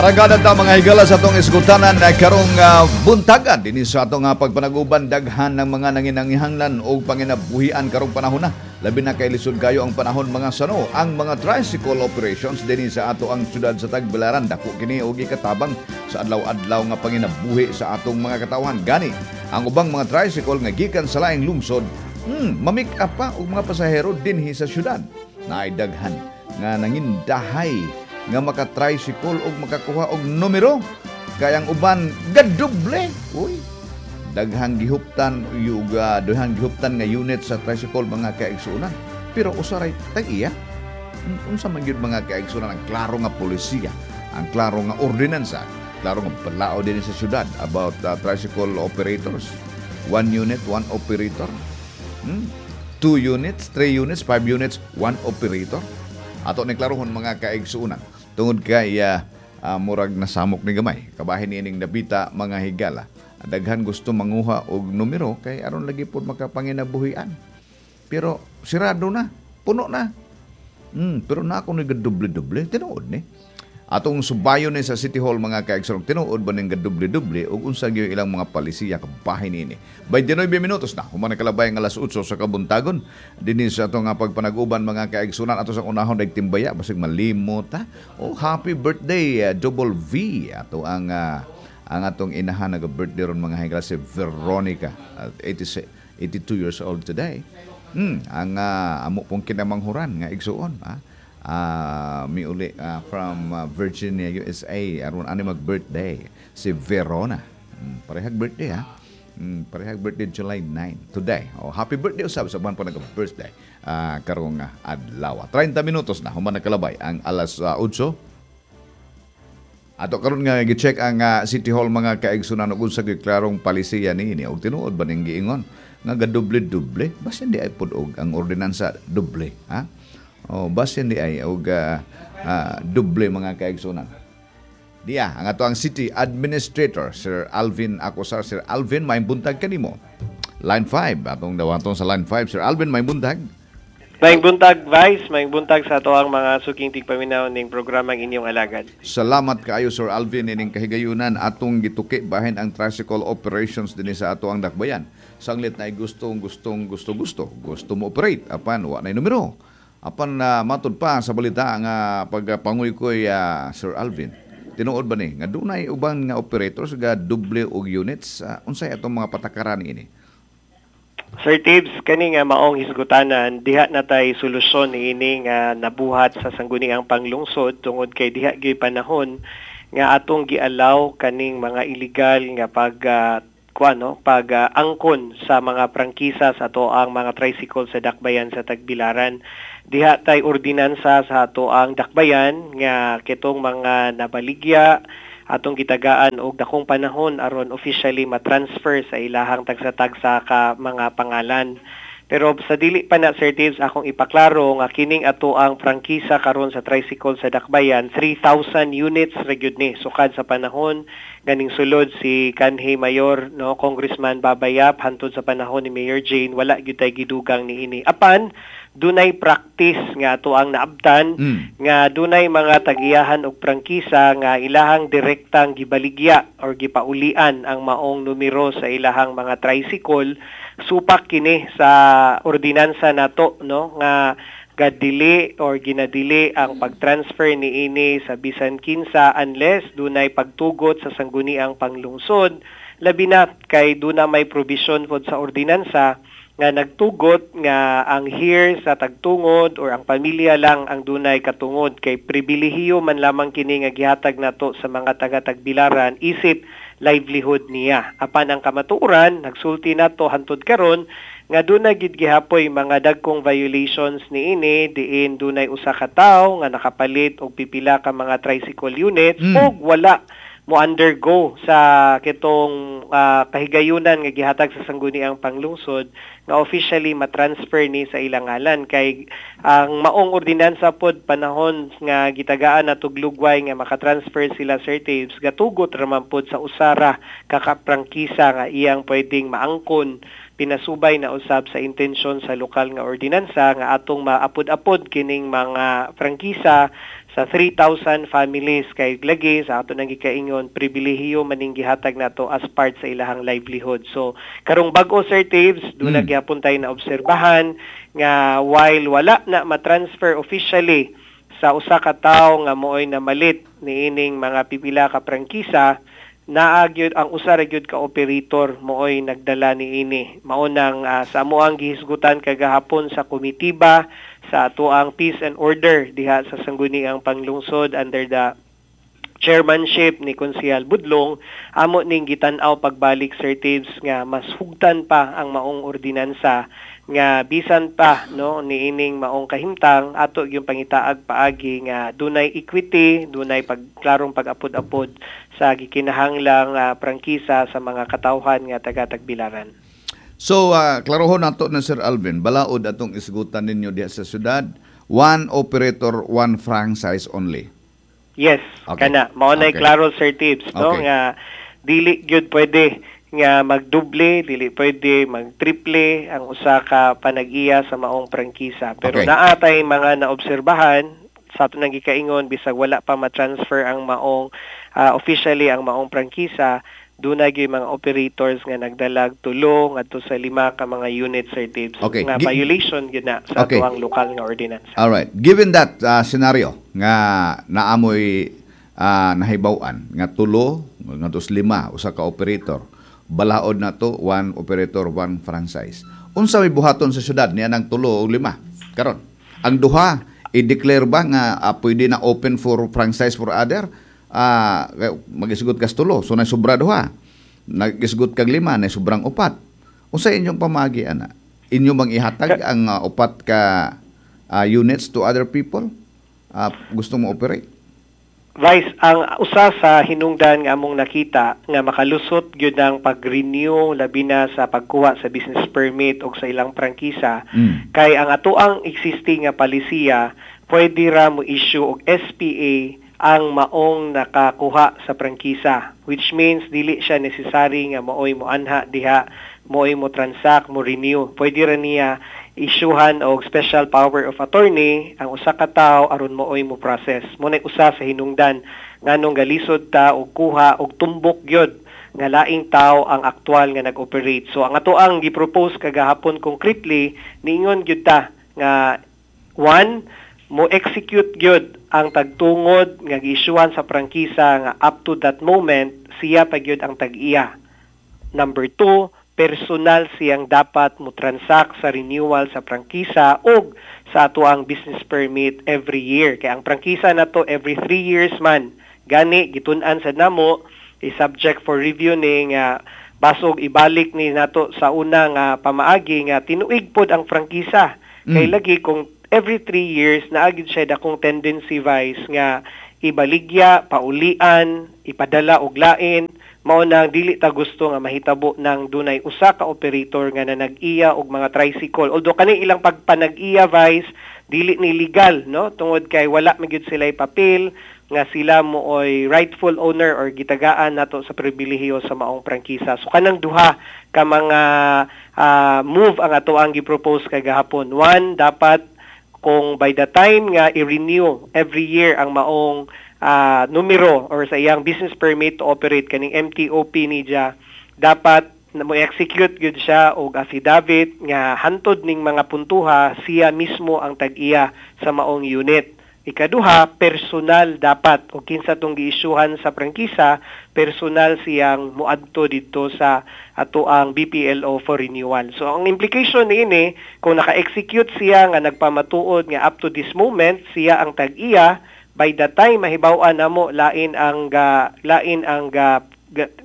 Aragada ta, mga higala, sa atong isgutanan na karong buntagan dinhi sa atong pagpanaguban. Daghan ng mga nanginahanglan og panginabuhian karong panahon na. Labi na kay lisod kayo ang panahon, mga sano. Ang mga tricycle operations dinhi sa ato ang syudad sa Tagbilaran, dako kini og ikatabang sa adlaw-adlaw nga panginabuhi sa atong mga katawhan. Gani ang ubang mga tricycle nga gikan sa laing lungsod, mamik up pa og mga pasahero dinhi sa syudad. Naay daghan nga nangindahay nga maka-tricycle og makakuha og numero kay ang uban gadoble. Uy, daghang gihuptan yuga, daghang gihuptan nga unit sa tricycle, mga kaigsuonan, pero usaray tag-iya. Unsa man gyud, mga kaigsuonan, ang klaro nga polisiya, ang klaro nga ordinansa, klaro nga balaod din sa syudad about tricycle operators? One unit, one operator. Two units, three units, five units, one operator. Ato ni klarohon, mga kaigsuonan, tungod kay murag nasamok ni gamay kabahin ining nabita, mga higala. Daghan gusto manguha og numero kay aron lagi pod makapanginabuhian, pero sirado na, puno na. Pero na ako ni doble-doble, tinuod ni? Atong subayon ni sa City Hall, mga kaigsuonan, tinuod ba ning doble-doble ug unsa gyud ilang mga palisiya kabahin niini? 29 minutos na human nakalabay ang alas 8 sa kabuntagon dinhi sa atong nga pagpanaguban, mga kaigsuonan. Ato sa unahon timbaya, basig malimot ha. Oh, happy birthday, Double V, ato ang atong inahan, nag-birthday ron, mga higala, si Veronica, 86, 82 years old today. Ang amo pong kinamanghuran nga igsuon, ah. Miuli from Virginia, USA, aron ani mag-birthday si Verona. Parehag birthday ha. Parehag birthday, July 9 today. Oh, happy birthday usab sa buwan po nag-birthday karong adlaw. 30 minutos na human nakalabay ang alas 8. Ato karon nga gi-check ang City Hall, mga kaigsunan, ug unsa gyud klarong palisiya niini ug tinuod ba ning giingon nga gadoble-doble? Basin di ay pud og ang ordinansa doble ha. Oh, basin di ay og doble, mga kaigsunan. Diya ang ato ang City Administrator, Sir Alvin Acosar. Sir Alvin, may buntag kanimo. Line 5 atong dawaton sa line 5. Sir Alvin, may buntag. Maayong buntag, Vice. Maayong buntag sa ato ang mga suking tigpaminaw ning programang Inyong Alagad. Salamat kaayo, Sir Alvin, ining kahigayunan atong gituki bahin ang tricycle operations dinhi sa ato ang dakbayan. Sanglit na gustong gustong gusto gusto gusto mo operate apan wa na numero. Apan matud pa sa balita nga pagpanguykoy, Sir Alvin. Tinuod ba ni nga dunay uban nga operators ga doble og units? Unsay atong mga patakaran ini? Sir Tibbs, kani nga maong hisgutanan, diha na tay solusyon niini nga nabuhat sa Sangguniang Panglungsod tungod kay diha gyud panahon nga atong gialaw kaning mga illegal nga pag kuan no, pag angkon sa mga prangkisa sa ato ang mga tricycle sa dakbayan sa Tagbilaran. Diha tay ordinansa sa ato ang dakbayan nga kitong mga nabaligya, atong gitagaan og dakong panahon aron officially ma-transfer sa ilahang tagsa-tagsa ka mga pangalan. Pero sa dili pa na, Sir Tibbs, akong ipaklaro nga kining ato ang prangkisa karon sa tricycle sa Dakbayan, 3,000 units ra gyud ni sukad sa panahon ganing sulod si kanhi Mayor, no, Congressman Baba Yap, hantod sa panahon ni Mayor Jane, wala gyud tay gidugang niini. Apan dunay practice nga ato ang naabtan nga dunay mga tagiyahan og prangkisa nga ilahang direktang gibaligya or gipaulian ang maong numero sa ilahang mga tricycle. Supak kini sa ordinansa nato, no, nga gadili or ginadili ang pag-transfer niini sa bisan kinsa unless dunay pagtugot sa Sangguniang Panglungsod, labi na kay duna may provision pod sa ordinansa nga nagtugot nga ang heir sa tagtungod or ang pamilya lang ang dunay katungod, kay pribilehiyo man lamang kini nga gihatag nato sa mga taga-Tagbilaran isip livelihood niya. Apan ang kamatuoran, nagsulti nato hantod karon nga dunay gid gihapoy mga dagkong violations niini, diin dunay usa ka tawo nga nakapalit og pipila ka mga tricycle units ug wala mo undergo sa kitong kahigayunan nga gihatag sa Sangguniang Panglungsod nga officially ma-transfer ni sa ilang ngalan, kay ang maong ordinansa pod panahon nga gitagaan na tuglugway nga makatransfer sila, Sir Tibbs, gatugot ra man pod sa usara kakaprangkisa nga iyang pwedeng maangkon, pinasubay na usab sa intensyon sa lokal nga ordinansa nga atong maapod-apod kining mga prangkisa sa 3,000 families kay lagi sa ato nang gikaingon, pribilehiyo maning gihatag nato as part sa ilahang livelihood. So karong bag-o, Sir Tibbs, duna gyapon tay na obserbahan nga while wala na ma-transfer officially sa usa ka tawo nga mooy namalit niining mga pipila ka prangkisa, naa gyud ang usa ra gyud ka operator mooy nagdala niini. Mao nang sa amoang gihisgutan kagahapon sa komitiba sa atoang peace and order diha sa Sangguniang Panglungsod under the chairmanship ni Konsehal Budlong, amo ning gitan-aw pagbalik, Sir Tibbs, nga mas hugtan pa ang maong ordinansa nga bisan pa, no, niining maong kahimtang, ato yung pangitaag paagi nga dunay equity, dunay pagklarong pag-apod-apod sa gikinahanglang prangkisa sa mga katawhan nga taga Tagbilaran. So, klarohon nato na, Sir Alvin, balaod atong isgutan ninyo diha sa syudad, one operator, one franchise only. Yes, kana mao nay klaro, Sir Tibbs, no, nga dili gyud pwede nga magduble, dili pwede magtriple ang usa ka panag-iya sa maong prangkisa. Pero naa tay mga naobserbahan sa ato nang gikaingon, bisag wala pa ma-transfer ang maong officially ang maong prangkisa, dunay gyud mga operators nga nagdalag tulo ngadto sa lima ka mga units, Sir Tibbs, nga violation gyud na sa atoang lokal nga ordinance. All right. Given that scenario nga naamoy nahibaw-an nga tulo ngadto sa lima usa ka operator, balaod na to one operator, one franchise. Unsa may buhaton sa syudad niya ng tulo o lima karon? Ang duha, i-declare ba nga pwede na open for franchise for other? Magisgot kas tulo, so na sobra duha. Nagisgot kag lima, na sobrang upat. Unsa inyong pamagi ana? Inyo bang ihatag ang upat ka units to other people? Gusto mo operate? Vice, ang usa sa hinungdan nga among nakita nga makalusot gyud ang pag-renew, labi na sa pagkuha sa business permit o sa ilang prangkisa, kay ang atoang existing nga palisiya, pwede ra mo issue og SPA ang maong nakakuha sa prangkisa, which means dili siya necessary nga maoy mo anha diha, mo'y mo transact, mo renew. Pwede ra niya isyuhan og special power of attorney ang usa ka tawo aron mooy mo process. Mo na usa sa hinungdan nganong galisod ta og kuha og tumbok gyud nga laing tao ang aktual nga nag-operate. So ang ato ang gi-propose kagahapon concretely, niingon gyud ta nga one, mo execute gyud ang tagtungod nga giisyuhan sa prangkisa nga up to that moment siya pa gyud ang tag-iya. Number two, personal siyang dapat mo transact sa renewal sa prangkisa og sa atoang business permit every year. Kaya ang prangkisa na to every 3 years man. Gani gitun-an sa namo is subject for review ni nga basog ibalik ni nato sa una nga pamaagi nga tinuig pod ang prangkisa. Kay lagi kung every 3 years, naa gyud siya dakong tendency, Vice, nga ibaligya, paulian, ipadala og lain. Mao nang dili ta gusto nga mahitabo ng dunay usa ka operator nga nanag-iya og mga tricycle. Although kani ilang pagpanag-iya, Vice, dili ni legal, no, tungod kay wala man gyud sila papel nga sila mooy rightful owner or gitagaan nato sa pribilehiyo sa maong prangkisa. So kanang duha ka mga move ang ato ang gi-propose kagahapon. One, dapat kung by the time nga i-renew every year ang maong numero or sa iyang business permit to operate, kaning MTOP niya, dapat na mo execute gyud siya og affidavit nga hantod ning mga puntuha, siya mismo ang tag-iya sa maong unit. Ikaduha, personal dapat o kinsa tong giisyuhan sa prangkisa, personal siyang muadto didto sa atoang BPLO for renewal. So ang implication niini, kung naka-execute siya nga nagpamatuod nga up to this moment siya ang tag-iya, by the time mahibaw-an namo lain ang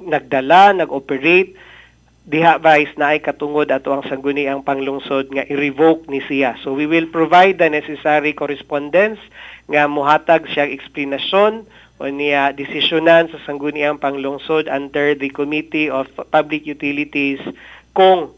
nagdala, nag-operate diha, Vice, naay katungod ato ang Sangguniang Panglungsod nga i-revoke ni siya. So we will provide the necessary correspondence nga muhatag siya eksplanasyon o niya desisyonan sa Sangguniang Panglungsod under the Committee of Public Utilities kung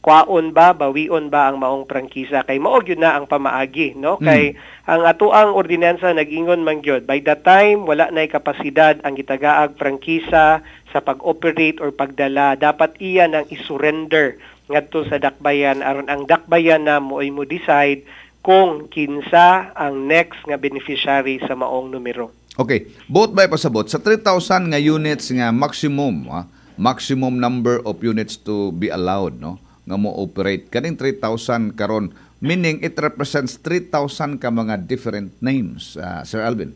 kwaon ba, bawion ba ang maong prangkisa, kay mao gyud na ang pamaagi, no, kay ang atoang ordinansa nag-ingon man gyud, by the time wala nay kapasidad ang gitagaag prangkisa sa pag-operate or pagdala, dapat iya nang isurrender ngadto sa dakbayan aron ang dakbayan na mooy mo decide. kung kinsa ang next nga beneficiary sa maong numero. Okay, buot ba pasabot sa 3,000 nga units nga maximum, maximum number of units to be allowed, no, nga mo operate kaning 3,000 karon, meaning it represents 3,000 ka mga different names, Sir Alvin?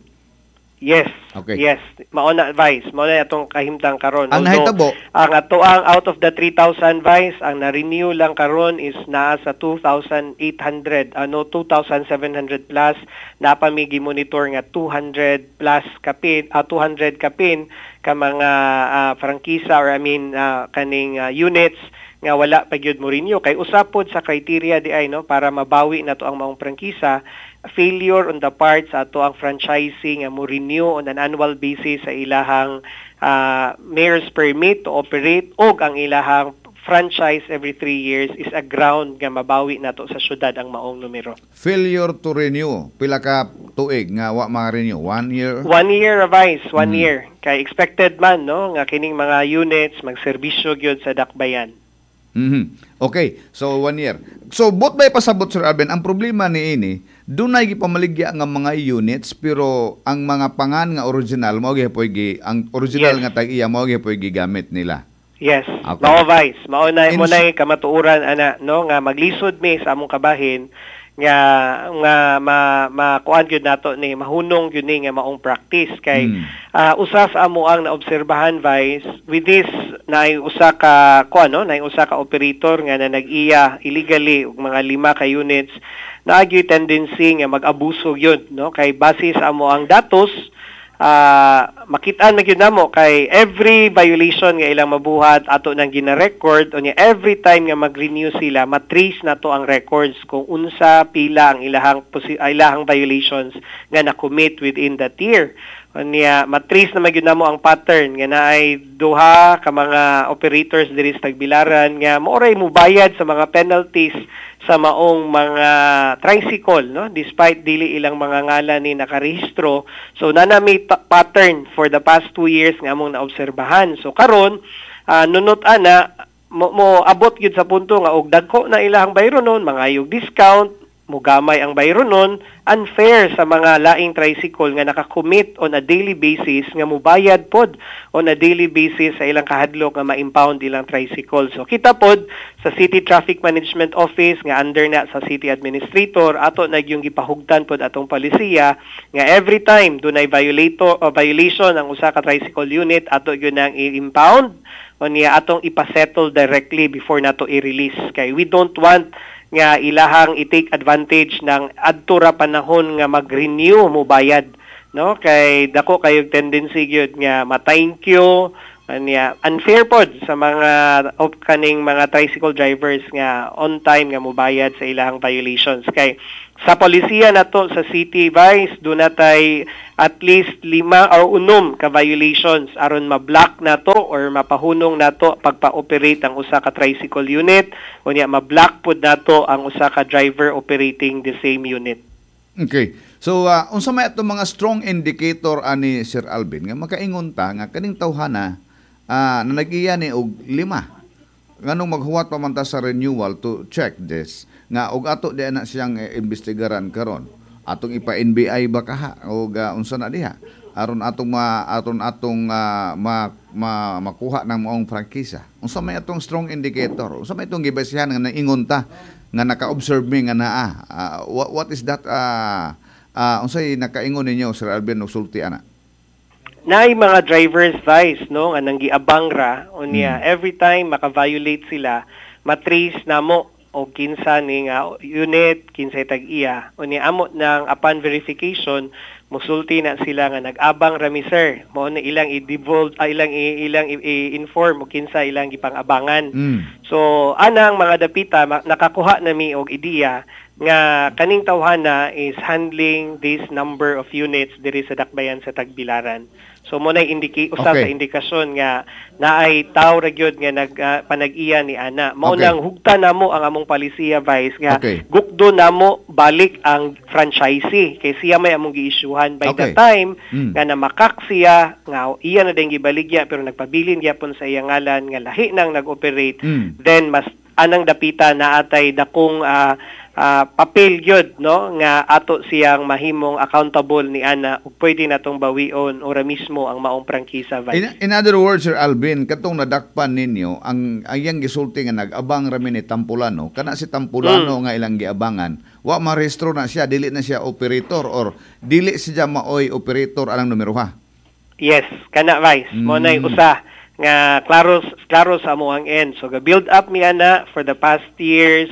Yes. Okay. Yes, mao na, Vice, mao na atong kahimtang karon. Ang nahitabo, ang ato ang out of the 3,000, Vice, ang na-renew lang karon is naa sa 2,800, ano, 2,700 plus. Naa pa mi monitor nga 200 plus kapin, 200 kapin ka mga prangkisa or I mean kaning units nga wala pa gyud mo renew, kay usa pod sa criteria di ay, no, para mabawi na to ang maong prangkisa, failure on the part sa ato ang franchisee nga mo renew on an annual basis sa ilahang mayor's permit to operate og ang ilahang franchise every 3 years is a ground nga mabawi nato sa syudad ang maong numero. Failure to renew, pila ka tuig nga wa ma-renew? One year? One year, Vice, one year. Kay expected man, no, nga kining mga units magserbisyo gyud sa dakbayan. Okay, so one year. So, buot ba pasabot, Sir Alvin, ang problema ni ini, dunay gipamaligya nga mga units pero ang mga pangan nga original mao gihapoy gi ang original nga tag-iya mao gihapoy gigamit nila? Yes. Okay. Mao, Vice. Mao na mo na kamatuoran ana, no, nga maglisod mi sa among kabahin nga nga ma makuan gyud nato ni, mahunong gyud ni nga maong practice kay usa sa amo ang naobserbahan, Vice, with this naay usa ka kuan, no, naay usa ka operator nga na nag-iya illegally og mga lima ka units, naa gyud tendency nga mag-abuso gyud, no, kay base sa amo ang datos, makitaan na gyud namo kay every violation nga ilang mabuhat ato nang gina-record. Unya every time nga mag-renew sila, matrace na to ang records kung unsa pila ang ilahang violations nga na-commit within that year. Unya matrace na magyud namo ang pattern nga naay duha ka mga operators diri sa Tagbilaran nga mao ray mubayad sa mga penalties sa maong mga tricycle, no, despite dili ilang mga ngalan ni nakarehistro. So naa na mi pattern for the past 2 years nga among naobserbahan. So karon, nunot ana mo abot gyud sa punto nga og dagko na ilahang bayronon, mangayog discount, mugamay ang bayronon, unfair sa mga laing tricycle nga nakakommit on a daily basis nga mubayad pod on a daily basis sa ilang kahadlok nga ma-impound ilang tricycle. So kita pod sa City Traffic Management Office nga under na sa City Administrator, ato na yung gipahugtan pod atong palisiya nga every time dunay violator o violation ang usa ka tricycle unit, ato gyud nang i-impound, unya atong ipasettle directly before nato i-release, kay we don't want nga ilahang i-take advantage ng adto ra panahon nga mag-renew mo bayad, no, kay dako kayo tendency gyud nga ma-thank you. Anya unfair pod sa mga of kaning mga tricycle drivers nga on time nga mobayad sa ilahang violations, kay sa polisiya nato sa city, Vice, duna tay at least lima or unom ka violations aron ma-block nato or mapahunong nato pagpa-operate ang usa ka tricycle unit, unya ma-block pod nato ang usa ka driver operating the same unit. Okay. So, unsa may atong mga strong indicator ani, Sir Alvin, nga makaingon ta nga kaning tawhana na nag-iya ni og lima? Nganong maghuwat pa man ta sa renewal to check this nga og ato di na siyang imbestigaran karon? Atong ipa-NBI ba kaha og unsa na diha aron atong ma aton atong ma, ma, makuha ng maong prangkisa? Unsa may atong strong indicator? Unsa may atong gibasihan nga naingon ta nga naka-observe mi nga naa? What is that, unsay nakaingon ninyo, Sir Alvin, og sulti ana? Naay mga drivers, Vice, no, nga nanggiabang ra, unya every time maka-violate sila, matrace namo og kinsa ni nga unit, kinsay tag-iya. Unya amo nang upon verification, musulti na sila nga nag-abang rami, sir. Mao na ilang i-divulge, ilang i-inform og kinsa ilang gipang-abangan. So anang mga dapita nakakuha na mi og ideya nga kaning tawhana is handling this number of units diri sa dakbayan sa Tagbilaran. So mo na usa sa indikasyon nga naay tawo ra gyud nga nag panag-iya ni ana. Mao nang hugta namo ang among palisiya, Vice, nga gukdo namo balik ang franchisee kay siya may among giisyuhan by the time nga namakak siya nga iya na din gibaligya pero nagpabilin gyapon sa iyang ngalan nga lahi nang nag-operate, then mas anang dapita na atay dakong papel gyud, no, nga ato siyang mahimong accountable ni ana ug pwede natong bawion ora mismo ang maong prangkisa, Vice. In other words, Sir Alvin, katong nadakpan ninyo, ang iyang gisulti nga nag-abang rami ni Tampulano, kana si Tampulano nga ilang giabangan, wa marehistro na siya, dili na siya operator or dili siya maoy operator anang numero ha. Yes, kana, Vice. Mo nay usa nga klaro klaro sa amo ang end. So ga build up mi ana for the past years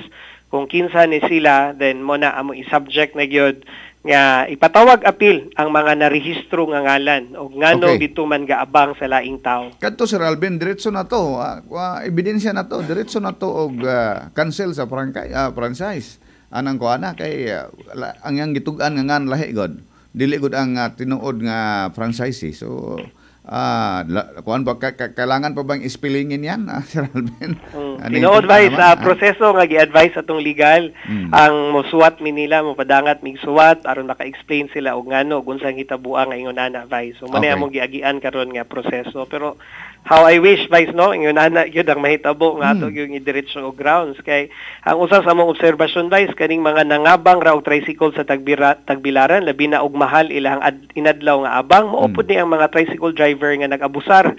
kung kinsa ni sila, then mo na amo i-subject na gyud nga ipatawag apil ang mga narehistro nga ngalan og ngano dito man gaabang sa laing tao. Kadto, Sir Alvin, diretso na to, ebidensya na to, diretso na to og cancel sa franchise. Anang ko ana kay ang iyang gitug-an nga ngan lahi god. Dili gud ang tinuod nga franchisee. So kuan ba kailangan pa bang ispilingin yan, Sir Alvin? Ano yung Tinuod, Vice, naman, sa proseso nga gi-advise atong legal, ang mosuwat mi nila, mopadangat mig suwat aron maka-explain sila og ngano ug unsang hitabuan nga ingon ana, Vice. So mo na among giagian karon nga proseso. Pero how I wish, Vice, no, ingon ana gyud ang mahitabo nga ato gyud idiretso og grounds kay ang usa sa among obserbasyon, Vice, kaning mga nangabang ra og tricycle sa Tagbilaran, labi na og mahal ilang inadlaw nga abang, mao pud ni ang mga tricycle driver nga nag-abusar.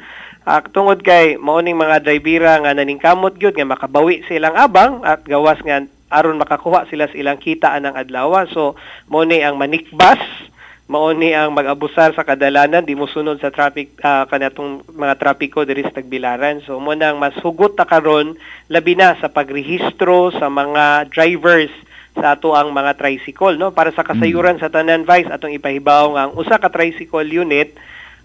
Tungod kay mao ning mga drivera nga naningkamot gyud nga makabawi sa ilang abang at gawas nga aron makakuha sila sa ilang kita anang adlaw. So mao ni ang manikbas, mao ni ang mag-abusar sa kadalanan, di mo sunod sa traffic, kanatong mga trapiko diri sa Tagbilaran. So mo nang mas hugot ta karon, labi na sa pagrehistro sa mga drivers sa ato ang mga tricycle, no? Para sa kasayuran sa tanan, Vice, atong ipahibaw nga ang usa ka tricycle unit,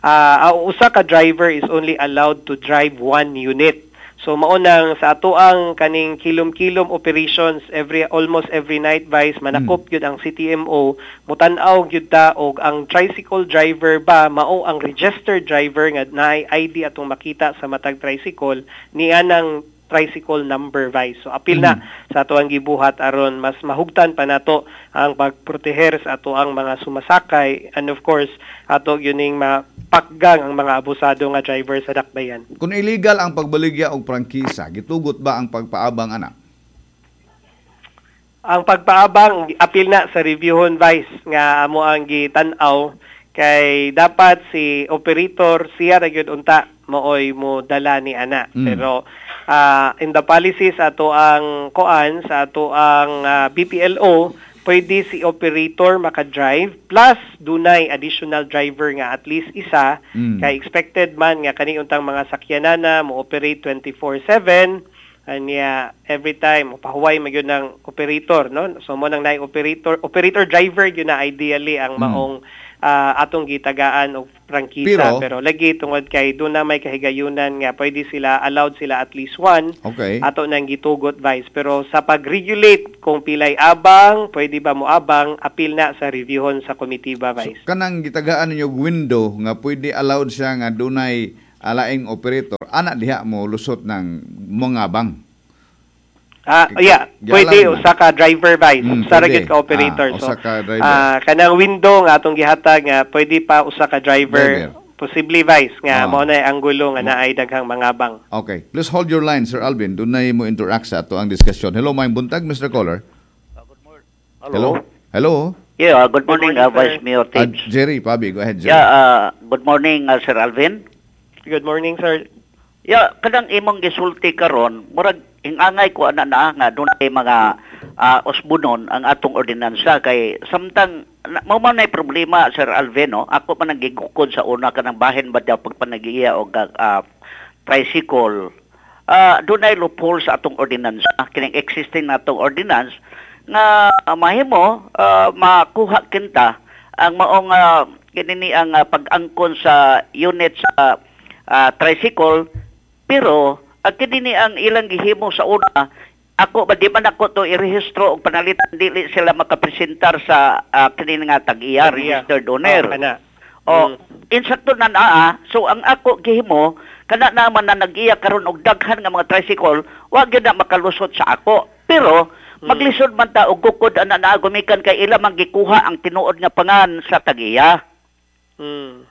ang usa ka driver is only allowed to drive one unit. So mao nang sa ato ang kaning kilom-kilom operations every almost every night, Vice, manakop gyud ang CTMO, mutan-aw gyud ta og ang tricycle driver ba mao ang registered driver nga naay ID atong makita sa matag tricycle niya ng tricycle number, Vice. So apil na sa ato ang gibuhat aron mas mahugtan pa nato ang pagproteher sa ato ang mga sumasakay and of course ato yuning mapakgang ang mga abusado nga driver sa dakbayan. Kung illegal ang pagbaligya og prangkisa, gitugot ba ang pagpaabang ana? Ang pagpaabang, apil na sa reviewhon, Vice, nga amo ang gitan-aw kay dapat si operator siya ra gyud unta mooy mo dala ni ana. Pero in the policies ato ang koan sa ato ang BPLO, pwede si operator maka-drive plus dunay additional driver nga at least isa kay expected man nga kani untang mga sakyanana mo operate 24/7 anya every time pahuway man gyud ng operator, no? So mo nang naay operator operator driver gyud na ideally ang maong atong gitagaan og prangkisa. Pero lagi tungod kay doon na may kahigayunan nga pwede sila, allowed sila at least one, ato nang gitugot, Vice. Pero sa pag-regulate kung pilay abang, pwede ba mo abang, apil na sa reviewhon sa komitiba, Vice. So, kanang gitagaan ninyo og window nga pwede allowed siya nga dunay alaing operator, ana diha mo lusot ng mga bang. Yeah, pwede Gialam na. Usa ka driver, Vice. Usa ra Pwede. gyud ka operator. Ah, So usa ka driver. Kanang window nga atong gihatag nga pwede pa usa ka driver, Driver. Posible, Vice, nga mao na ang gulo nga naay daghang mga bang. Okay. Please hold your line, Sir Alvin. Dunay mo interact sa ato ang diskusyon. Hello, maayong buntag, Mr. Caller. Hello. Hello. Yeah, good morning, Morning, sir. Vice Mayor Tibbs. Jerry Pabi, go ahead, Jerry. Yeah, good morning, Sir Alvin. Good morning, sir. Yeah, kanang imong gisulti karon, murag ingangay ko ana na nga dunay mga usbunon ang atong ordinansa kay samtang mao man nay problema, Sir Alvin, no? Ako man ang gigukod sa una kanang bahin ba daw pagpanagiya og tricycle. Dunay loophole sa atong ordinansa, kining existing natong ordinance nga mahimo makuha kinta ang maong kinini ang pag-angkon sa unit sa tricycle, pero ang kinini ang ilang gihimo sa una, ako ba di man ako to irehistro og panalitan, dili sila makapresentar sa kini nga tag-iya, Tag-iya. registered owner. Oh, kana. O, insakto na naa, so ang ako gihimo, kana naman na nag-iya karon og daghan nga mga tricycle, wa gyud na makalusot sa ako. Pero maglisod man ta og gukod ana na gumikan kay ila man gikuha ang tinuod nga pangan sa tag-iya.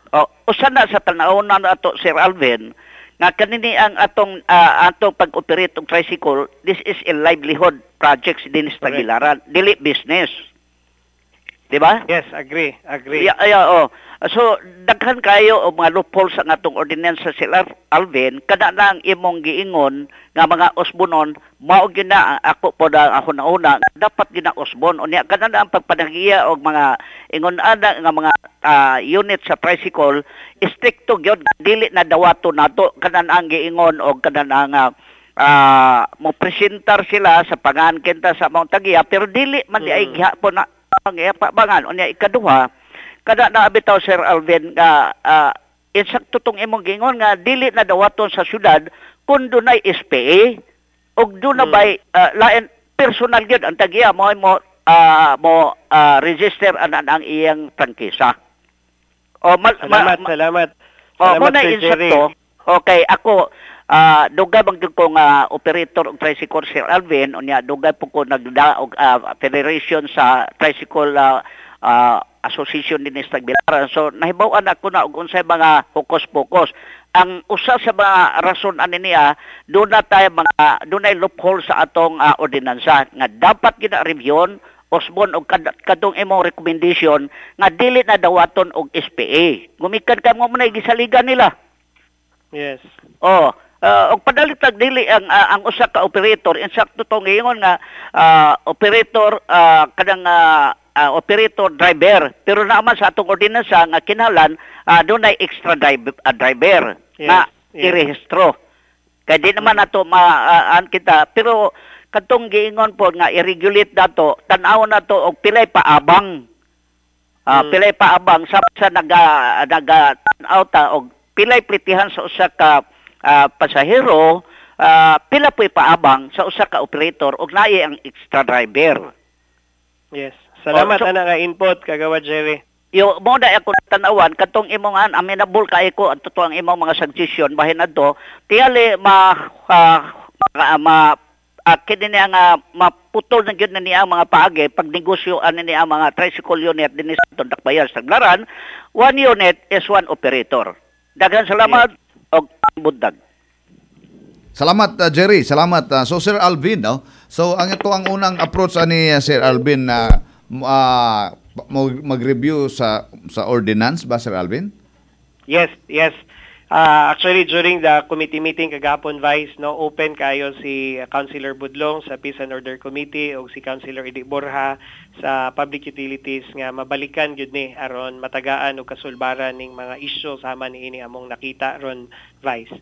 O, usa na sa tan-awon na ato, Sir Alvin, Nga kanini ang atong atong pag-operate og tricycle, this is a livelihood project din sa Correct. Tagbilaran, dili business. Di ba? Yes, agree, agree. Yeah, oh. So daghan kayo og mga loopholes ang atong ordinansa, Sir Alvin, kada na ang imong giingon nga mga usbonon, mao gyud na ako po na ako nauna, dapat gyud na usbon. Unya kada na ang pagpanagiya og mga ingon ana nga mga unit sa tricycle, stricto gyud, dili na dawato nato kanan ang giingon og kanan ang mo presentar sila sa pangan kita sa Mount Tagiya, pero dili man di ay gihapon na ang ipabangan. Unya ikaduha, kada na bitaw, Sir Alvin, nga insakto tong imong giingon nga dili na dawaton sa syudad kung dunay SPA ug duna bay lain personal gyud ang tagiya mo mo mo register ang iyang prangkisa. O Salamat, salamat. Oh, Salamat, mo na Sir Jerry. insakto. Okay, ako dugay bang gyud ko nga operator og tricycle, Sir Alvin, unya dugay po ko nagda og federation sa tricycle association din sa Tagbilaran. So nahibaw-an ako na og unsay mga hukos-pokos. Ang usa sa mga rason ani niya, doon na tayo mga dunay loophole sa atong ordinansa nga dapat gina review usbon og kadtong imong recommendation nga dili na dawaton og SPA. Gumikan ka mo na gisaligan nila. Oh, og padalit tag dili ang ang usa ka operator, insakto tong giingon nga operator kanang operator driver, pero naman sa atong ordinansa nga kinahanglan dunay extra driver na irehistro. Kay di naman nato maan kita, pero kadtong giingon po nga i-regulate nato, tan-aw nato og pilay paabang. Pilay paabang sa naga naga tan-aw ta og pilay plitihan sa usa ka pasahero, pila po'y paabang sa usa ka operator og naay ang extra driver. Yes. Salamat Oh, so- ana nga input, Kagawad Jerry. Yo mo na ako tan-awan katong imong an amenable kay ko ang totoo ang imong mga suggestion bahin adto tiyali ma ma, ma kini niya nga maputol na gyud na niya ang mga paagi pag negosyo ani niya ang mga tricycle unit dinhi sa atong Dakbayan sa Tagbilaran. One unit is one operator. Daghan salamat og buntag. Salamat, Jerry, salamat. So Sir Alvin, no? So ang ito ang unang approach ani Sir Alvin na mag-review sa ordinance ba, Sir Alvin? Yes. Actually, during the committee meeting kagahapon, Vice, no, open kayo si Councilor Budlong sa Peace and Order Committee o si Councilor Idi Borja sa Public Utilities nga mabalikan gyud ni aron matagaan og kasulbaran ning mga isyu sama niini among nakita ron, Vice.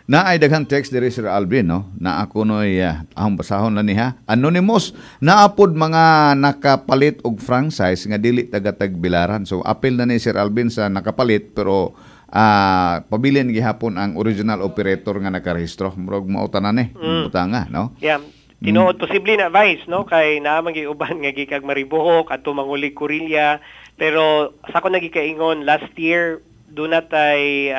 Naay daghang text diri, Sir Alvin, no? Na ako noy ahong basahon lang niya. Anonymous, naapod mga nakapalit og franchise nga dili taga Tagbilaran. So apil na ni Sir Alvin sa nakapalit, pero pabilin gihapon ang original operator nga nakarehistro. Murag mao tanan eh. Butanga, no? Yeah. Tinuod posible na, Vice, no, kay naa man gyud uban nga gikag Maribojoc adto mangulig Korelia, pero sa ako nagikaingon last year duna tay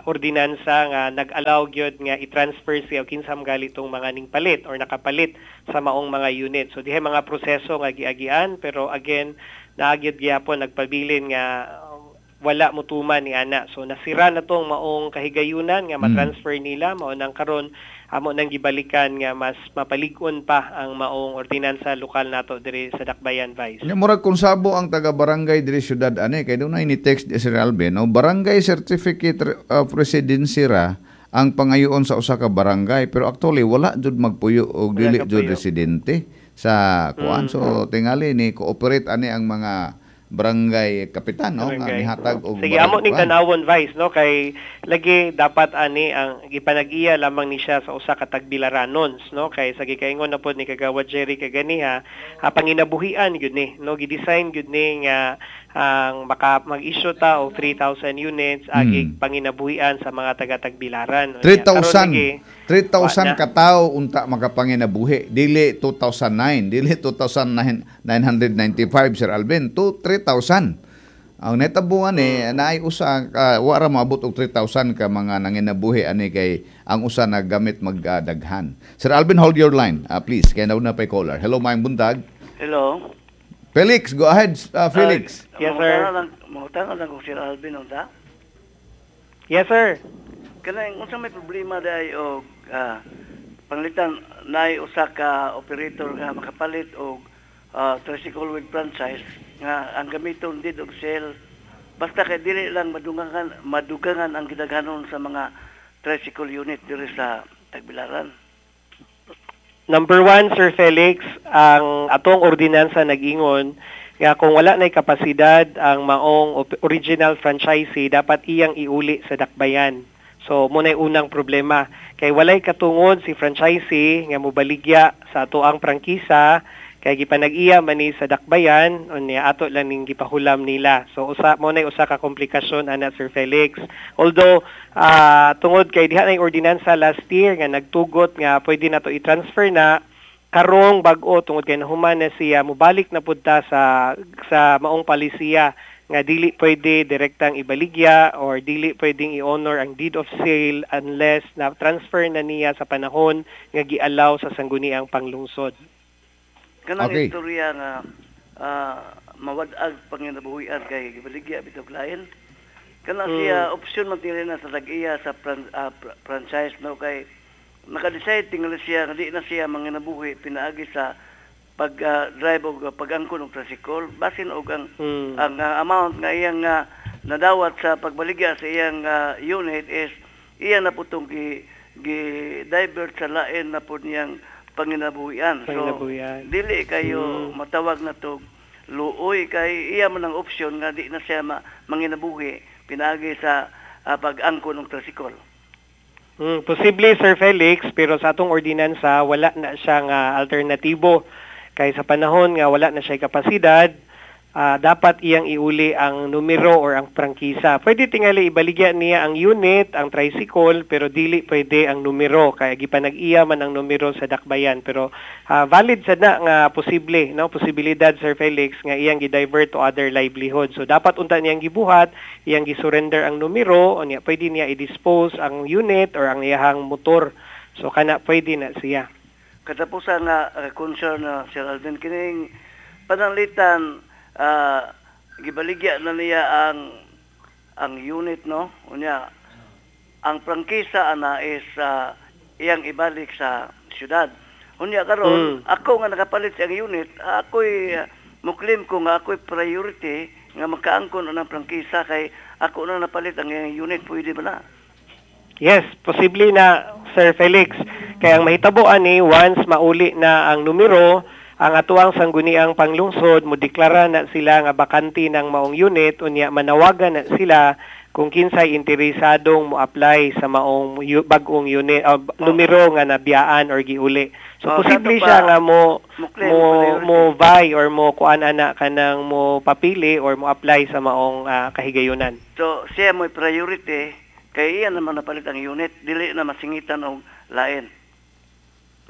ordinansa nga nag-allow gyud nga i-transfer siya og kinsa man gali tong mga ning palit or nakapalit sa maong mga unit. So dihay mga proseso nga giagian, pero again naagyud gyapon nagpabilin nga wala motuman ni ana. So nasira na tong maong kahigayunan nga ma-transfer nila, mao nang karon amo nang gibalikan nga mas mapalig-on pa ang maong ordinansa lokal nato diri sa Dakbayan, Vice. Nya murag kung sabo ang taga barangay diri syudad ani kay dunay ni text di Sir Alvin, no, barangay certificate of residency ra ang pangayoon sa usa ka barangay, pero actually wala jud magpuyo og Wala dili jud kapuyo. Residente sa kuan. So tingali ni cooperate ani ang mga barangay kapitan, no, nga Barangay. nihatag og Sige, amo ning kuan. tanawon, Vice, no, kay lagi dapat ani ang gipanag-iya lamang ni siya sa usa ka tagbilaranons, no, kay sa gikaingon na pod ni Kagawad Jerry kaganiha, panginabuhian gyud ni, no, gi-design gyud ni nga ang maka mag-issue ta og 3,000 units agi panginabuhian sa mga taga-Tagbilaran. 3,000 3,000 Wa na. Katawo unta makapanginabuhi, dili 2009, dili 2,995, Sir Alvin, to 3,000 ang netabuan eh. Naay usa ka wa ra moabot og 3,000 ka mga nanginabuhi ani kay ang usa naggamit magdaghan. Sir Alvin, hold your line, please, kay nauna pay caller. Hello, maayong buntag. Hello. Felix, go ahead, Felix. Yes, sir. Mangutana lang ko Sir Alvin, unta. Yes, sir. Kanang unsa may problema dai og panglitan naay usa ka operator nga makapalit og tricycle with franchise nga ang gamiton deed of sale, basta kay dili lang madugangan madugangan ang gidaghanon sa mga tricycle unit diri sa Tagbilaran? Number one, Sir Felix, ang atong ordinansa nag-ingon nga kung wala na'y kapasidad ang maong original franchisee, dapat iyang iuli sa dakbayan. So, mao na'y unang problema. Kay walay katungod si franchisee nga mobaligya sa atoang prangkisa kay gipanag-iya man ni sa dakbayan, unya ato lang ning gipahulam nila. So usa mao na'y usa ka komplikasyon ana, Sir Felix. Although tungod kay diha na ordinansa last year nga nagtugot nga pwede na to i-transfer na karong bag-o, tungod kay nahuman na siya, mobalik na pud ta sa maong palisiya nga dili pwede direktang ibaligya or dili pwedeng i-honor ang deed of sale unless na transfer na niya sa panahon nga gialaw sa Sangguniang Panglungsod. Kanang istorya nga mawad-ag panginabuhian kay gibaligya bitog lain. Kana siya opsyon man tingali na sa tag-iya sa franchise, no, kay naka-decide tingali siya nga di na siya manginabuhi pinaagi sa pag drive og pag-angkon og tricycle, basin og ang ang amount nga iyang nadawat sa pagbaligya sa iyang unit is iya na putong gi gi divert sa lain na pud niyang panginabuhian. So Panginabuhian. Dili kayo matawag na to luoy kay iya man ang opsyon nga di na siya manginabuhi pinaagi sa pag-angkon ng tricycle. Posible, Sir Felix, pero sa atong ordinansa wala na siyang alternatibo. Kay sa panahon nga wala na siya kapasidad, dapat iyang iuli ang numero or ang prangkisa. Pwede tingali ibaligya niya ang unit, ang tricycle, pero dili pwede ang numero kay gipanag-iya man ang numero sa dakbayan. Pero valid sad na nga posible, no, posibilidad, Sir Felix, nga iyang gi-divert to other livelihood. So dapat unta niyang gibuhat, iyang gi-surrender ang numero, unya pwede niya i-dispose ang unit or ang iyahang motor. So kana pwede na siya. Katapusan nga concern na, Sir Alvin, kining pananglitan gibaligya na niya ang unit, no, unya ang prangkisa ana is iyang ibalik sa syudad. Unya karon ako nga nakapalit sa iyang unit, ako'y muklim ko nga ako'y priority nga makaangkon ang prangkisa kay ako na napalit ang iyang unit. Pwede ba na? Yes, posible na, Sir Felix. Kaya ang mahitabo ani, once mauli na ang numero, ang atuang Sangguniang Panglungsod mo deklara na sila nga bakante ng maong unit, unya manawagan na sila kung kinsay interesadong mo apply sa maong bag-ong unit numero nga nabiyaan or giuli. So Oh, posible sa ato siya pa, nga mo mo-claim mo priority. Mo vie or mo kuan ana kanang mo papili or mo apply sa maong kahigayunan. So siya mo'y priority kay iya naman napalit ang unit, dili na masingitan og lain.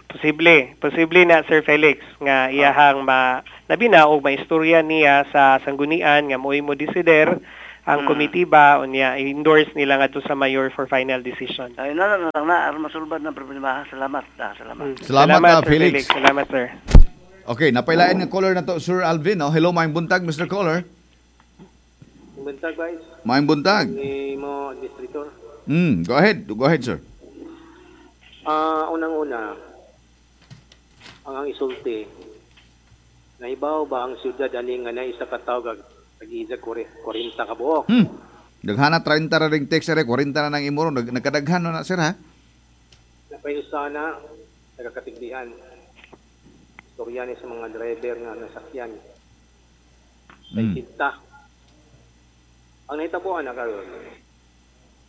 Posible, posible na, Sir Felix, nga iyahang ma labi na og maistorya niya sa sanggunian nga mo'y mo desider ang komitiba, unya i-endorse nila ngadto sa mayor for final decision. Ay na na lang na aron masulbad ng problema. Salamat. Salamat. Salamat, Sir Felix. Felix. Salamat, sir. Okay, napailain nga caller na to, Sir Alvin. No? Hello, maayong buntag, Mr. Caller. Buntag, guys. Maayong buntag. Ni mo, administrator. Go ahead. Go ahead, sir. Unang-una, ang isulti, naibaw ba ang siyudad ani nga na isa ka tawo tag-isa 40 ka buok? Daghana 30 ra ring text, sir. 40 na nang imo ron. Nagkadaghan na, sir, ha? Napay usa na nagakatigdihan. Istorya ni sa mga driver nga nasakyan. Kinta. Ang nahitabuan na karon,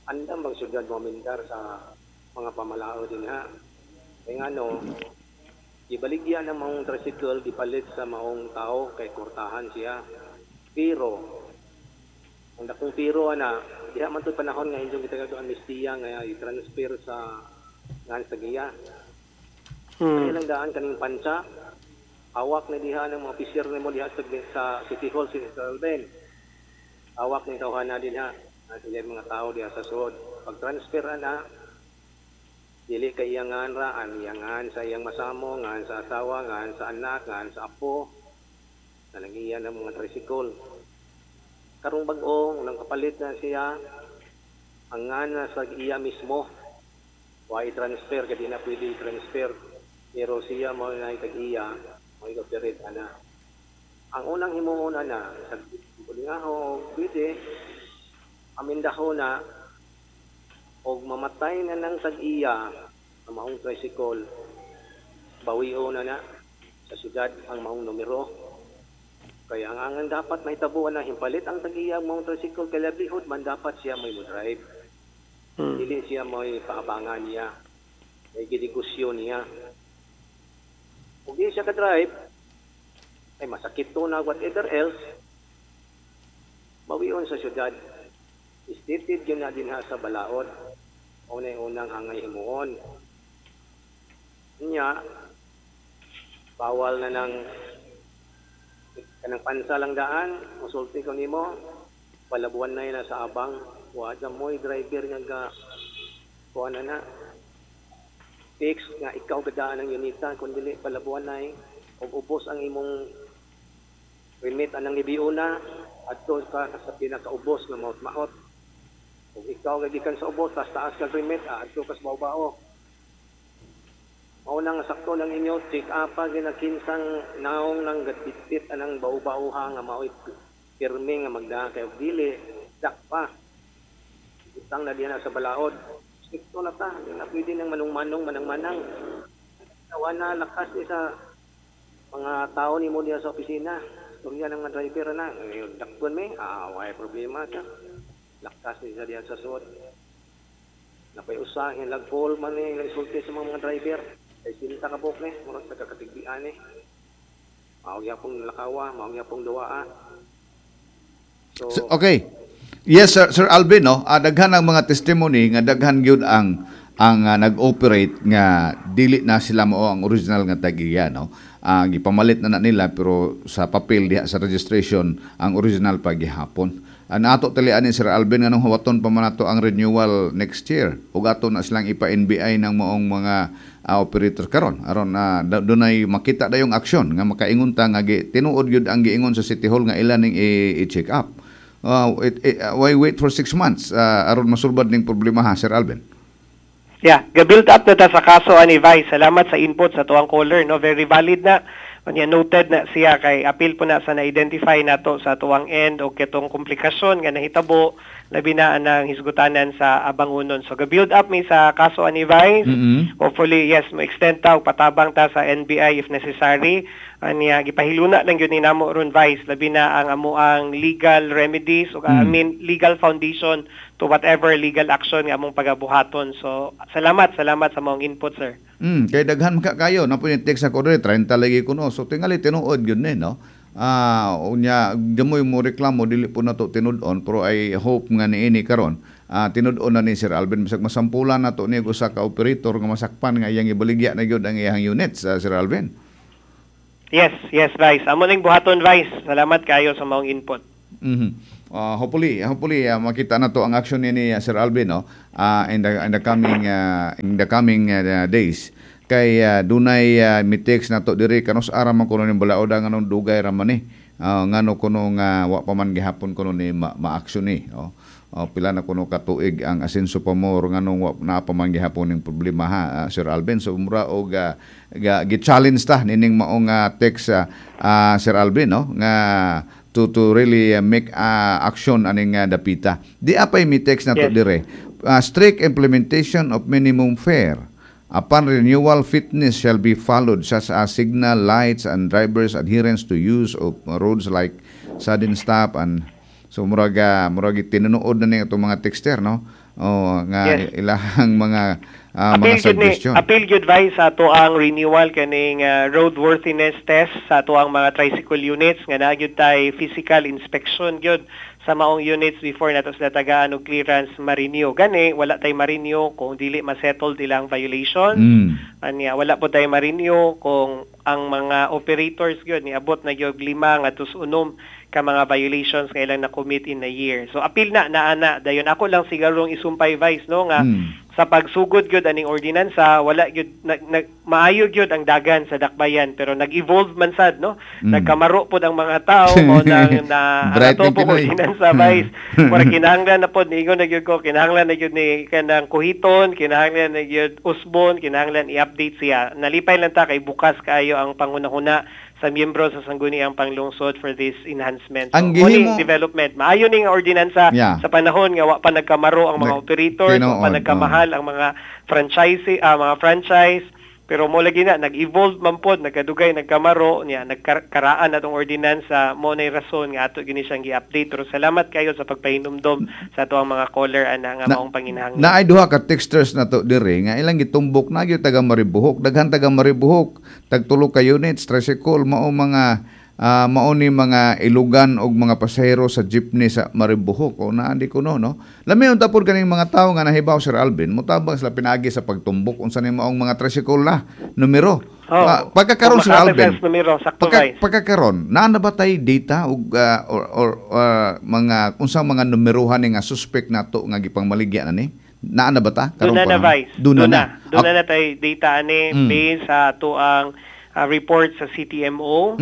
andam bang siyudad moamendar sa mga pamalao din ha? Kaya nga no, ibaligya ng maong tricycle, gipalit sa maong tao kay kurtahan siya. Pero, ang dakong pero ana, diha man to'y panahon nga inyong gitagado amnestiya nga i-transfer sa ngan sa giya. Kaya lang daan kaning pansa, hawak na diha ng mga officer nimo diha sa City Hall, si Mr. Alben. Hawak ni tawhana din ha. Sila mga tao diha sa suod. Pag transfer ana, dili kay iyang ngan ra, ang iyang ngan sa iyang masamo, ngan sa asawa, ngan sa anak, ngan sa apo. Nalagiyan ng mga tricycle. Karong bag-o, unang kapalit na siya, Ang ngana sa iya mismo, wa i-transfer kay di na pwede i-transfer. Pero siya mo na tag-iya, mo i-operate ana. Ang unang himuon ana sa ho pwede amindaho na og mamatay na ng tag-iya ang maong tricycle, bawion na na sa syudad ang maong numero. Kaya ang dapat mahitabuan na himpalit ang tag-iya ang maong tricycle kay livelihood man, dapat siya may mo drive. Dili siya may paabangan niya. May ginegosyo niya. Kung di siya ka-drive, ay masakit to na whatever else, bawion sa syudad. Stated yun na din ha sa balaod. Una unang angay himuon. Nya, bawal na ng kanang pansa lang daan, musulti ko nimo, palabuan na yun sa abang, wa mo'y driver nga ga kuan na na. Fix nga ikaw gadaan ang unita, kung dili palabuan na og ubos ang imong remit anang ibiuna na adto ka sa pinakaubos nga maot-maot. Ug ikaw gagikan sa ubos, tas taas kag remit, adto ka sa bao-bao. Mao nang sakto lang inyo, check up pa ginakinsang naong nang gatbitbit anang bao-bao ha nga mao'y pirmi nga magda kay og dili dak pa. Utang na diyan na sa balaod. Strikto na ta, di na pwede nang manong-manong manang-manang. Tawa na lakas ni sa mga tao nimo diya sa opisina. Storya ng mga driver na. Ngayon, dakpon mi, way problema ta. Lakas ni sa diyan sa suot. Napay usahin, lagpol man ni, isulti sa mga driver. Kay sinta ka buk ni, murag sa kakatigbian ni. Mao gyapon lakawa, mao gyapon duwaa. So, So, okay. Yes, Sir, Sir Alvin, no? Daghan ang mga testimony nga daghan gyud ang nag-operate nga dili na sila mao ang original nga tag-iya, no? Gipamalit na na nila pero sa papel diha sa registration ang original pa gihapon. Nato tali ani, Sir Alvin, nganong huwaton pa man nato ang renewal next year ug ato na silang ipa-NBI ng maong mga operator karon aron na dunay makita dayong aksyon nga makaingon ta nga tinuod gyud ang giingon sa City Hall nga ila ning i-check up. Why wait for 6 months aron masulbad ning problema ha, Sir Alvin? Yeah, ga-build up na ta sa kaso ani, Vice. Salamat sa input sa tuang caller, no? Very valid na. Unya noted na siya kay appeal po na sa na-identify nato sa tuang end o kitong komplikasyon nga nahitabo labi na ang hisgutanan sa Abangunon. So ga-build up mi sa kaso ani, Vice. Hopefully, yes, mo extend ta og patabang ta sa NBI if necessary. Anya gipahiluna lang gyud ni namo ron, Vice, labi na ang amuang legal remedies o I mean legal foundation to whatever legal action nga among pagabuhaton. So salamat, salamat sa maong input, sir. Kay daghan ka kayo na po yung text ako diri, 30 lagi kuno. So tingali tinuod gyud ni, no. Unya gamoy mo reklamo dili po nato tinud-on, pero I hope nga niini karon tinud-on na ni Sir Alvin bisag masampulan nato ni usa ka operator nga masakpan nga iyang ibaligya na gyud ang iyang units, Sir Alvin. Yes, Vice. Amo ning buhaton, Vice. Salamat kayo sa maong input. Hopefully makita na to ang action ni Sir Alvin, no, in the coming days kay dunay mi-text na to diri, kanus ara man kuno ning balaoda, nganong dugay ra man ni, ngano kuno nga wa pa man gihapon kuno ni ma-action ni, oh. Oh, pila na kuno katuig ang Asenso Pa More, nganong wa na pa man gihapon ning problema ha, Sir Alvin? So mura og gi-challenge ta nining maong text, Sir Alvin, no, nga to really make action aning dapita. Di apay mi text na to dire. Strict implementation of minimum fare. Upon renewal, fitness shall be followed such as signal lights and drivers' adherence to use of roads like sudden stop and so murag tinunood na ni atong mga texter, no? Oh, nga ilahang mga Appeal gyud ni suggestion. Appeal gyud, Vice, sa ato ang renewal kaning roadworthiness test sa ato ang mga tricycle units nga naa gyud tay physical inspection gyud sa maong units before nato sila tagaan og clearance ma-renew. Gani wala tay ma-renew kung dili ma-settled ilang violations. Anya wala po tay ma-renew kung ang mga operators gyud niabot na gyud 5 ngadto sa 6 ka mga violations nga ilang na-commit in a year. So appeal na naana dayon. Ako lang sigurong isumpay, Vice, no, nga Sa pagsugod gyud aning ordinansa, wala gyud maayo gyud ang dagan sa dakbayan, pero nag-evolve man sad, no? Nagkamaro pod ang mga tao mo nang na Bright ato ng po Pinoy. ordinansa, Vice. Mura kinahanglan na pod, niingon na gyud ko, kinahanglan na gyud ni kanang kuhiton, kinahanglan na gyud usbon, kinahanglan i-update siya. Nalipay lang ta kay bukas kaayo ang pangunahuna sa miyembro sa Sangguniang Panglungsod for this enhancement. So, Ang mo ning gihimo- development. Maayo ning ordinansa sa panahon nga wa pa nagkamaro ang mga operators, wa pa nagkamahal ang mga franchise, mga franchise. Pero mo lagi na nag-evolve man pod, nagkadugay, nagkamaro niya, nagkaraan atong ordinansa, mo nay rason nga ato gini siyang gi-update. Pero salamat kayo sa pagpahinumdom sa ato ang mga caller ana nga maong panginahanglan. Naay duha ka texters na to diri nga ilang gitumbok na gyud taga Maribuhok, daghan taga Maribuhok, tag tulo ka units tricycle, mao mga mao ni mga ilugan og mga pasahero sa jeepney sa Maribuhok o naandi kuno, no. Lami unta pod kaning mga tawo nga nahibaw, Sir Alvin, motabang sila pinaagi sa pagtumbok unsa ni maong mga tricycle na numero. Oh, Pagkakaron, Sir kung Alvin, makatag sa numero, sakto, Vice. Pagkakaron, naa na ba tay data og or mga unsang mga numerohan ni nga suspect nato nga gipangmaligya na ni? Naa na ba ta? Doon na na, panahon? Vice. Doon na na. Doon na na tay data ani based sa ato ang report sa CTMO.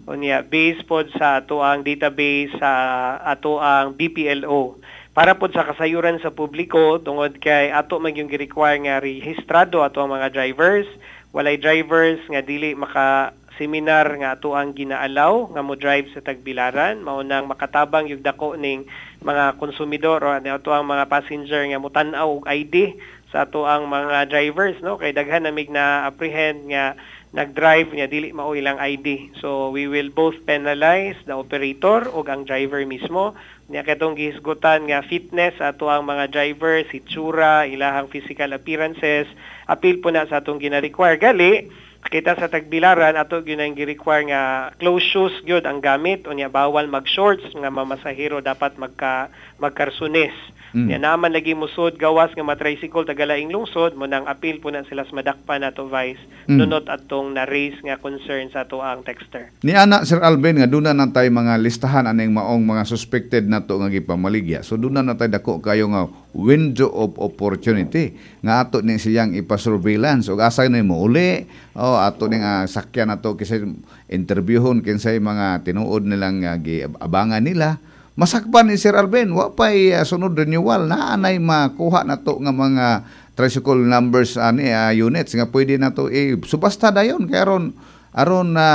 Unya, based pod sa ato ang database sa ato ang BPLO. Para pod sa kasayuran sa publiko, tungod kay ato man yung gi-require nga rehistrado ato ang mga drivers, walay drivers nga dili maka seminar nga ato ang ginaalaw nga mo drive sa Tagbilaran, mao nang makatabang yung dako ning mga konsumidor o ato ang mga passenger nga motan-aw og ID sa ato ang mga drivers, no, kay daghan namig na apprehend nga nag-drive niya dili mao ilang ID. So we will both penalize the operator ug ang driver mismo. Niya katong gihisgutan nga fitness ato ang mga drivers, itsura, ilahang physical appearances, apil po na sa atong gina-require. Gali kita sa Tagbilaran ato gyud ang gi-require nga closed shoes gyud ang gamit, unya bawal mag-shorts nga mamasahero, dapat magkarsunes. Nya naman lagi musod gawas nga matricycle tagalaing lungsod, mo nang apil po na sila sa madakpan nato, Vice. Nunot atong na-raise nga concern sa ato ang texter. Ni ana, Sir Alvin, nga duna na tay mga listahan aning maong mga suspected nato nga gipamaligya. So duna na tay dako kayo nga window of opportunity nga ato ni siyang ipa-surveillance ug asa ni mo uli o ato ning sakyan nato kisay interviewhon kinsay mga tinuod nilang giabangan nila. Masakpan ni Sir Alvin, wa pay sunod renewal na anay makuha nato nga mga tricycle numbers ani units nga pwede nato subasta dayon kay aron aron na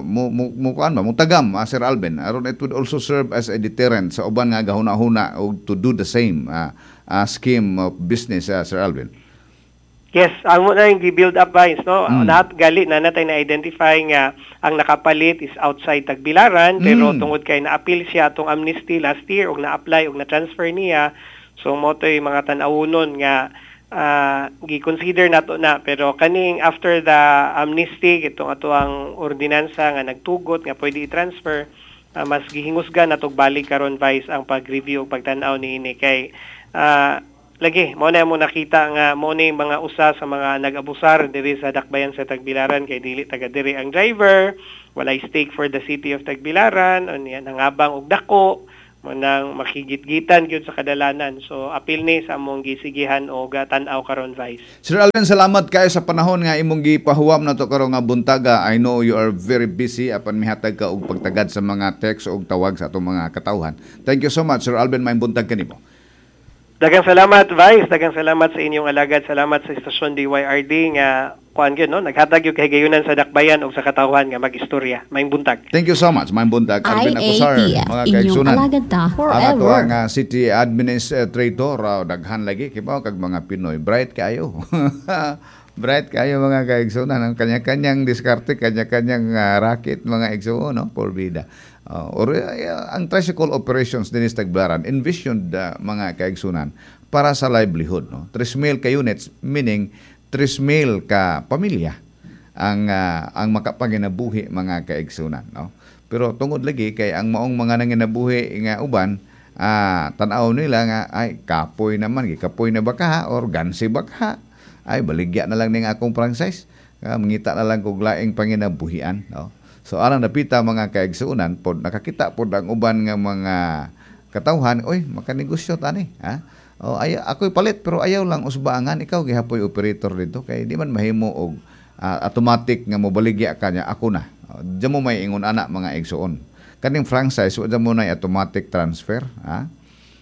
mo mo mo kuan ba mutagam, Sir Alvin, aron it would also serve as a deterrent sa uban nga gahuna-huna og to do the same scheme of business, Sir Alvin. Yes, ang mo na yung gi-build up, Vice, no? Lahat gali na natay na-identify nga ang nakapalit is outside Tagbilaran, pero tungod kay na-appeal siya atong amnesty last year ug na-apply ug na-transfer niya, so mo to'y mga tan-awunon nga gi-consider nato na, pero kaning after the amnesty itong ato ang ordinansa nga nagtugot nga pwede i-transfer, mas gihingusgan natog balik karon, Vice, ang pag-review ug pagtan-aw niini kay lagi mo na mo nakita nga mo ni mga usa sa mga nag-abusar diri sa dakbayan sa Tagbilaran kay dili taga diri ang driver, walay stake for the city of Tagbilaran, unya nangabang og dako, mo nang makigitgitan gyud sa kadalanan. So apil ni sa among gisigihan og tan-aw karon, Vice. Sir Alvin, salamat kayo sa panahon nga imong gipahuwam nato karon nga buntaga. I know you are very busy apan mihatag ka og pagtagad sa mga text og tawag sa atong mga katawhan. Thank you so much, Sir Alvin, maayong buntag kanimo. Daghang salamat, Vice. Daghang salamat sa inyong alagad. Salamat sa istasyon DYRD nga kuan gyud, no, naghatag gyud kahigayunan sa dakbayan ug sa katawhan nga mag-istorya. Maayong buntag. Thank you so much. Maayong buntag, Alvin Acosar, IATF, mga inyong kaigsunan. alagad ta Ang ato forever. ang city administrator, daghan lagi kibaw kag mga Pinoy, bright kayo. Bright kayo, mga kaigsunan, ang kanya-kanyang diskarte, kanya-kanyang racket, mga igsuon, no, por vida. Or ang tricycle operations dinhi sa Tagbilaran envisioned, mga kaigsunan, para sa livelihood, no. 3,000 ka units, meaning 3,000 ka pamilya ang makapanginabuhi, mga kaigsunan, no. Pero tungod lagi kay ang maong mga nanginabuhi nga uban, tan-aw nila nga ay kapoy naman, gikapoy na ba ka or gansi ba ka, ay baligya na lang ning akong franchise, mangita na lang kog laing panginabuhian, no. So alang napita, mga kaigsuonan pod, nakakita pod ang uban nga mga katawhan, oy, makanegosyo tani ha. Oh, ay, ako'y palit pero ayaw lang usbaangan ikaw gihapoy operator dito kay di man mahimo og automatic nga mobaligya ka niya ako na. Oh, diyan mo may ingon ana, mga igsuon. Kaning franchise, wa mo na automatic transfer, ha?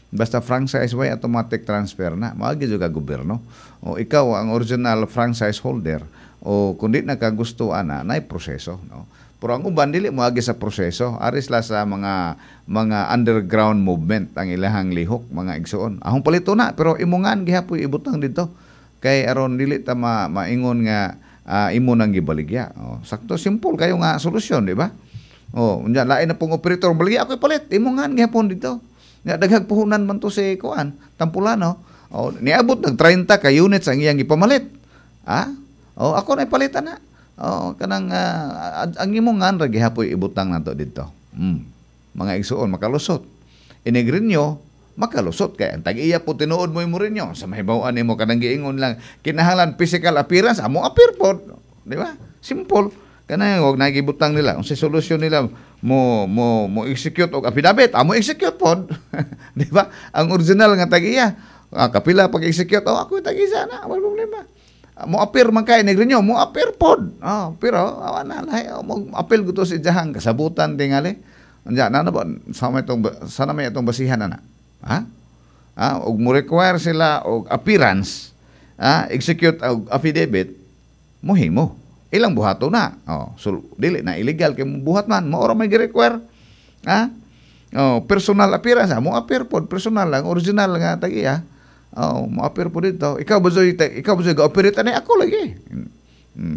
Basta franchise, way automatic transfer na. Mao gyud ka gobyerno. O ikaw ang original franchise holder o kung di na ka gusto ana, nay proseso, no? Pero ang uban dili moagi sa proseso, aris la sa mga underground movement ang ilahang lihok, mga igsuon. Ahong palito na pero imungan gihapoy ibutang dito kay aron dili ta maingon nga imo nang gibaligya. Oh, sakto, simple kayo nga solusyon, di ba? Oh, unya lain na pong operator baligya, ako ipalit, imungan gihapon dito. Nya daghag puhunan man to si kuan, Tampulano. Oh, niabot nag 30 ka units ang iyang gipamalit. Ah? Oh, ako na ipalitan na. Oh, kanang ang imong ngan ra gihapoy ibutang nato dito. Mga igsuon, makalusot. Inigrinyo, makalusot kay ang tag-iya po tinuod mo imo rinyo. Sa mahibaw-an nimo kanang giingon lang kinahanglan physical appearance, amo appear pod, di ba? Simple. Kanang og nagibutang nila, unsa solusyon nila mo mo mo execute og affidavit, amo execute pod. Di ba? Ang original nga tag-iya, kapila pag-execute, oh ako tag-isa na, wala problema. Mo appear man kay negrinyo, mo appear pod. Oh, pero awa na lahi mo appeal gusto si jahang kasabutan tingali. Unya na na ba sa may itong sana may itong basihan na. Ha? Ah, og mo require sila og appearance, execute og affidavit, mohimo. Ilang buhato na. Oh, so dili na illegal kay mo buhat man, mao ra may gi-require. Ha? Oh, personal appearance, mo appear pod personal lang, original nga tag-iya. Oh, mo appear po dito. Ikaw ba zoy, ikaw ba zoy ga-operate ani ako lagi.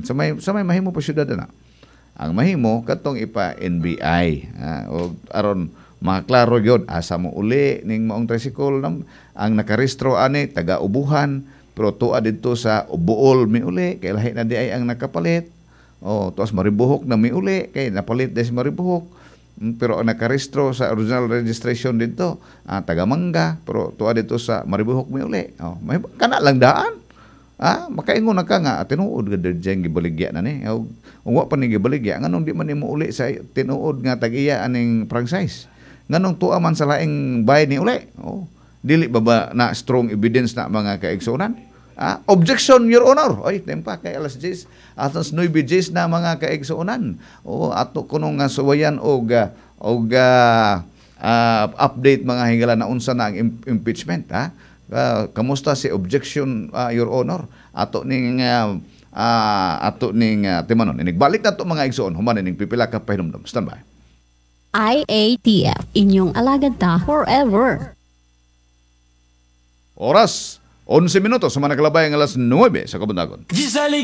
Sa may mahimo pa syudad na. Ang mahimo katong ipa NBI, o aron maklaro gyud asa mo uli ning maong tricycle nam, ang nakarehistro ani taga Ubuhan pero tuwa didto sa Buol mi uli kay lahi na di ay ang nakapalit. Oh, tuas Maribojoc na miuli kay napalit di si Maribojoc. Pero ang nakarehistro sa original registration dito, taga Mangga, pero tuwa dito sa Maribojoc miuli. Oh, may kana lang daan. Makaingon na ka nga tinuod gud diyan gibaligya na ni. Og kung wa pa ni gibaligya, nganong di man nimo uli sa tinuod nga tag-iya aning franchise? Nganong tuwa man sa laing bay ni uli? Oh, dili ba ba na strong evidence na, mga kaigsuonan? Objection, Your Honor. Ay, tempa kay alas 10, atas 9 10 na, mga kaigsuonan. O ato kuno nga suwayan og update, mga higala, na unsa na ang impeachment, ha? Kamusta si objection, Your Honor? Ato ning timanon. Inigbalik na to, mga igsuon, human ining pipila ka pahinumdum. Stand by. IATF, inyong alagad ta forever. Oras 11 minuto sa mga nakalabay ang alas 9 sa kabuntagon. Giselle.